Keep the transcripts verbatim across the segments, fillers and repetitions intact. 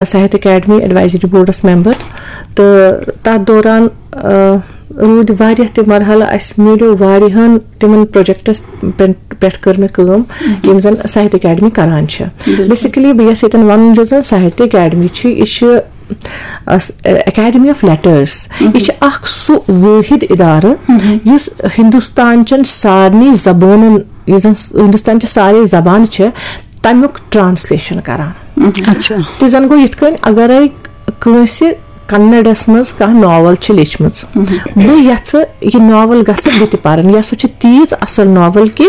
Sahitya academy advisory boards member, تہٕ تَتھ دوران آ، روٗدۍ واریاہ تہِ مرحلہٕ۔ اَسہِ میلیو واریاہن تِمن پروجیکٹس پٮ۪ن- پٮ۪ٹھ کٔر مےٚ کٲم، یِم زن ساہتیہ اکیڈمی کران چھِ۔ بیسکلی بہٕ یژھٕ ییٚتٮ۪ن ونُن، یُس زن ساہتیہ اکیڈمی چھِ، یہِ چھِ اکیڈمی آف لیٹرس۔ یہِ چھِ اکھ سُہ وٲحد ادارٕ، یُس ہندوستان چٮ۪ن سارنٕے زبانن، یُس زن ہندوستان چہِ سارے زبانہٕ چھِ، تمیُک ٹرانسلیشن کران۔ اچھا۔ تہِ زن گوٚو یِتھ کٔنۍ، اگرے کٲنٛسہِ کنڑس منٛز کانٛہہ ناول چھِ لیچھمٕژ، بہٕ یژھٕ یہِ ناول گژھِ بہٕ تہِ پرٕنۍ، یا سُہ چھِ تیٖژ اصل ناول کہِ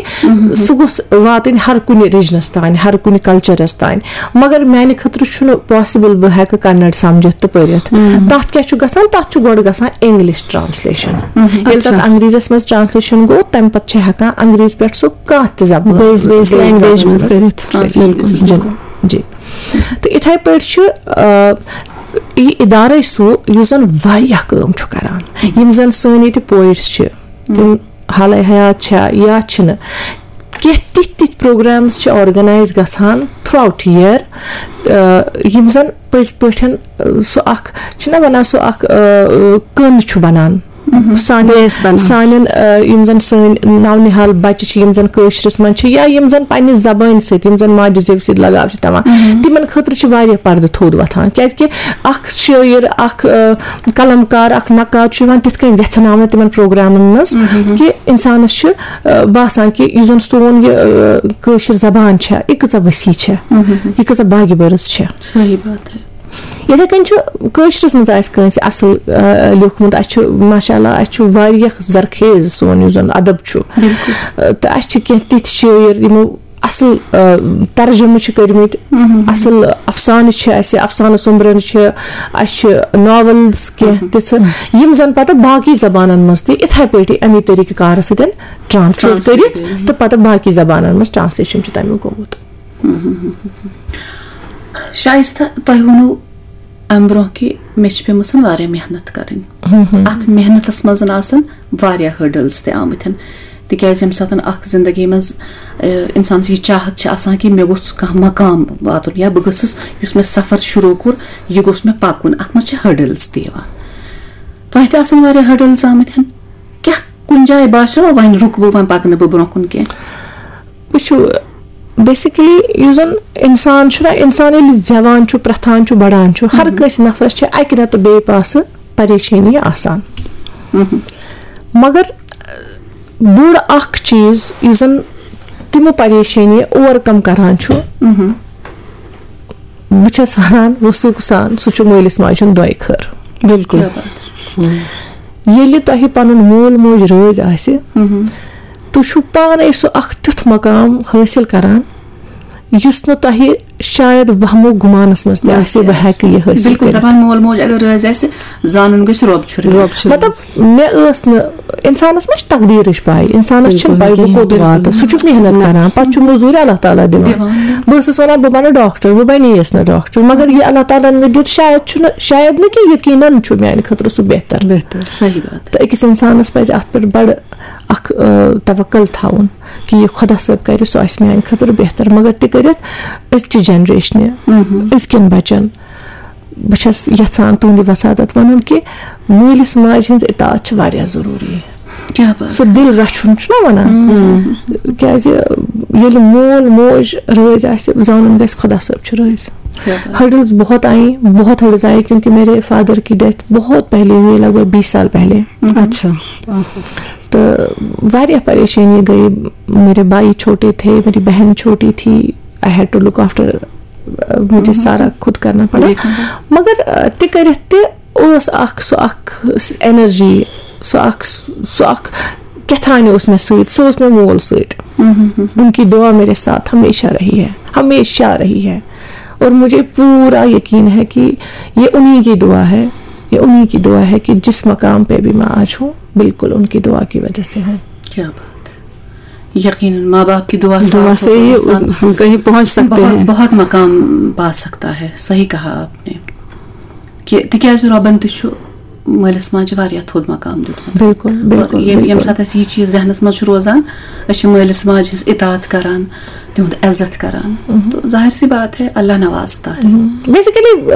سُہ گوٚژھ واتٕنۍ ہر کُنہِ ریجنس تانۍ، ہر کُنہِ کلچرس تانۍ۔ مگر میانہِ خٲطرٕ چھُنہٕ پاسبل بہٕ ہیٚکہٕ کنڑ سمجھتھ تہٕ پٔرِتھ۔ تتھ کیٛاہ چھُ گژھان؟ تتھ چھُ گۄڈٕ گژھان انگلش ٹرانسلیشن۔ ییٚلہِ تتھ انگریزس منٛز ٹرانسلیشن گوٚو، تمہِ پتہٕ چھِ ہیٚکان انگریز پٮ۪ٹھ سُہ کانٛہہ تہِ زبان، بیٚیِس بیٚیِس بیٚیِس لینگویج زبانہِ منٛز منٛز کٔرِتھ۔ ٹرانسلیٹ گٔژھِتھ۔ جی۔ تہٕ اِتھَے پٲٹھۍ چھُ، آ، یہِ اِدارَے سُہ، یُس زَن واریاہ کٲم چھُ کَران۔ یِم زَن سٲنۍ ییٚتہِ پویٹٕس چھِ، تِم حالَے حیات چھا یا چھِنہٕ، کینٛہہ تِتھۍ تِتھۍ پروگرامٕز چھِ آرگنایز گژھان تھرٛوٗ آوُٹ یِیَر، آ، یِم زَن پٔزۍ پٲٹھۍ، آ، سُہ اَکھ چھِنہ وَنان، سُہ اَکھ، آ، کٔنٛد چھُ بَنان۔ سانٮ۪ن، بیس بناوان۔ سانٮ۪ن، آ، یِم زَن سٲنۍ نَو نِہال بَچہِ چھِ، یِم زَن کٲشرِس منٛز چھِ، یا یِم زَن پنٛنہِ زبٲنۍ سۭتۍ، یِم زَن ماجہِ زیوِ سۭتۍ لگاو چھِ تھاوان، تِمَن خٲطرٕ چھِ واریاہ پردٕ تھوٚد وۄتھان، کیٛازِکہِ اَکھ شٲعر، اَکھ، آ، قلمکار، اَکھ نقاد چھُ یِوان تِتھ کٔنۍ وٮ۪ژھناونہٕ تِمَن پروگرامَن منٛز، کہِ اِنسانَس چھُ، آ، باسان کہِ یُس زَن سون یہِ، آ، کٲشِر زبان چھےٚ، یہِ کۭژاہ وسیع چھےٚ، یہِ کۭژاہ باگہِ بٔرٕژ چھےٚ۔ صحیح بات ہے۔ یِتھَے کٔنۍ چھُ کٲشرِس منٛز آسہِ کٲنٛسہِ اَصٕل، آ، لیوٗکھمُت، اَسہِ چھُ ماشاء اللہ، اَسہِ چھُ واریاہ زرخیز سون یُس زَن اَدب چھُ۔ آ، تہٕ اَسہِ چھِ کینٛہہ تِتھۍ شٲعر یِمو اَصٕل، آ، ترجمہٕ چھِ کٔرمٕتۍ، اَصٕل اَفسانہٕ چھِ اَسہِ، اَفسانہٕ سوٚمبرَن چھِ، اَسہِ چھِ ناولٕز کینٛہہ تِژھٕ، یِم زَن پَتہٕ باقٕے زبانَن منٛز تہِ یِتھَے پٲٹھۍ اَمی طریٖقہٕ کارٕ سۭتۍ ٹرانسلیٹ کٔرِتھ تہٕ پَتہٕ باقٕے زبانَن منٛز ٹرانسلیشن چھُ تَمیُک گوٚمُت۔ شائستہ، تۄہہِ ووٚنوُ اَمہِ برونٛہہ کہِ مےٚ چھِ پیٚمٕژ واریاہ محنت کَرٕنۍ۔ اَتھ محنتَس منٛز آسَن واریاہ ۂرڈلز تہِ آمٕتۍ، تِکیٛازِ ییٚمہِ ساتہٕ اَکھ زِندگی منٛز، اے، اِنسانَس یہِ چاہت چھِ آسان کہِ مےٚ گوٚژھ کانٛہہ مقام واتُن یا بہٕ گٔژھٕس، یُس مےٚ سفر شروٗع کوٚر، یہِ گوٚژھ مےٚ پَکُن، اَتھ منٛز چھِ ۂرڈلز تہِ یِوان۔ تۄہہِ تہِ آسَن واریاہ ۂرڈلز آمٕتۍ۔ کیٛاہ کُنہِ جایہِ باسیوٕ وۄنۍ رُکہٕ بہٕ، وۄنۍ پَکہٕ نہٕ بہٕ برونٛہہ کُن کینٛہہ؟ وٕچھِو، بیسکلی یُس زَن اِنسان چھُنہ، اِنسان ییٚلہِ زٮ۪وان چھُ، پرٛٮ۪تھان چھُ، بَڑان چھُ، ہر کٲنٛسہِ نفرَس چھِ اَکہِ رٮ۪تہٕ بیٚیہِ پاسہٕ پریشٲنی آسان۔ مگر بوٚڑ اَکھ چیٖز یُس زَن تِمہٕ پریشٲنی اوٚور کَم کَران چھُ، بہٕ چھَس وَنان وثوق سان، سُہ چھُ مٲلِس ماجہِ ہُنٛد دۄے خٲر۔ بالکل۔ ییٚلہِ تۄہہِ پَنُن مول موج رٲضۍ آسہِ، تُہۍ چھِو پانَے سُہ اَکھ تیُتھ مقام حٲصِل کَران، یُس نہٕ تۄہہِ شاید وہمو گُمانَس منٛز تہِ آسہِ، بہٕ ہٮ۪کہٕ یہِ حٲصِل بالکل کٔرِتھ۔ دَپان، مول موج اگر رٲضۍ آسہِ، زانُن گژھِ رۄب چھُ رٲضۍ۔ رۄب چھُ مطلب، رٲضۍ۔ مےٚ ٲس نہٕ، اِنسانَس ما چھِ تقدیٖرٕچ پَے؟ اِنسانَس چھِنہٕ پَے بہٕ کوٚت واتہٕ۔ سُہ چھُکھ محنت کَران، پَتہٕ چھُ مٔزوٗرۍ اللہ تعالیٰ دِوان۔ بہٕ ٲسٕس وَنان، بہٕ بَنہٕ ڈاکٹر، بہٕ بَنے یَس نہٕ ڈاکٹر، مگر یہِ اللہ تعالیٰ ہَن مےٚ دیُت، شاید چھُنہٕ، شاید نہٕ کینٛہہ، یقیناً چھُ میٛانہِ خٲطرٕ سُہ بہتر۔ بہتر، صحیح بات۔ تہٕ أکِس اِنسانَس پَزِ اَتھ پٮ۪ٹھ بَڑٕ اَکھ، آ، توکل تھاوُن کہِ یہِ خۄدا صٲب کَرِ، سُہ آسہِ میٛانہِ خٲطرٕ بہتر۔ مگر تہِ کٔرِتھ أزچہِ جنریشنہِ، أزکٮ۪ن بَچَن، بہٕ چھَس یَژھان تُہٕنٛدِ وساطت وَنُن کہِ مٲلِس ماجہِ ہٕنٛز اطاعت چھِ واریاہ ضروٗری۔ کیٛاہ بات۔ سُہ دِل رَچھُن چھُنہ وَنان؟ کیٛازِ ییٚلہِ مول موج رٲضۍ آسہِ، زانُن گژھِ خۄدا صٲب چھُ رٲضۍ۔ کیٛاہ بات۔ ہرڈلز بہت آئی، بہت ہرڈلز آئی، کیونکہ میرے فادر کی ڈیتھ بہت پہلے ہوئی، لگ بھگ بیس سال پہلے۔ اچھا۔ تو واریاہ پریشانی گئی۔ میرے بھائی چھوٹے تھے، میری بہن چھوٹی تھی، I had to look after، مجھے سارا خود کرنا پڑا۔ دیکھنا پڑا۔ مگر، آ، تہِ کٔرِتھ تہِ اوس اکھ، سُہ اکھ انرجی، سُہ اکھ، سُہ اکھ کیٛاہ تھانۍ اوس مےٚ سۭتۍ، سُہ اوس مےٚ مول سۭتۍ۔ ان کی دعا میرے ساتھ ہمیشہ رہی ہے، ہمیشہ رہی ہے۔ اور مجھے پورا یقین ہے کہ یہ انہیں کی دعا ہے، یہ انہیں کی دعا ہے کہ جس مقام پہ بھی میں آج ہوں، بالکل ان کی دعا کی وجہ سے ہوں۔ کیا بات ہے۔ یقیناً ماں باپ کی دعا ساتھ دعا سے ہو تو ہی انسان ہم کہیں پہنچ سکتے بہت، ہیں۔ بہت مقام پا سکتا ہے۔ صحیح کہا آپ نے کہ تِکیٛازِ رۄبن تہِ چھُ مٲلِس ماجہِ واریاہ تھوٚد مقام دیُتمُت۔ بِلکُل، بِلکُل، ییٚمہِ ییٚمہِ بِلکُل۔ ساتہٕ اَسہِ یہِ چیٖز ذہنَس منٛز چھُ روزان، أسۍ چھِ مٲلِس ماجہِ ہٕنٛز اطاعت کران، تِہُنٛد عزت کران۔ تو ظاہر سی بات ہے، اللہ نواز تَتھ۔ بیسکلی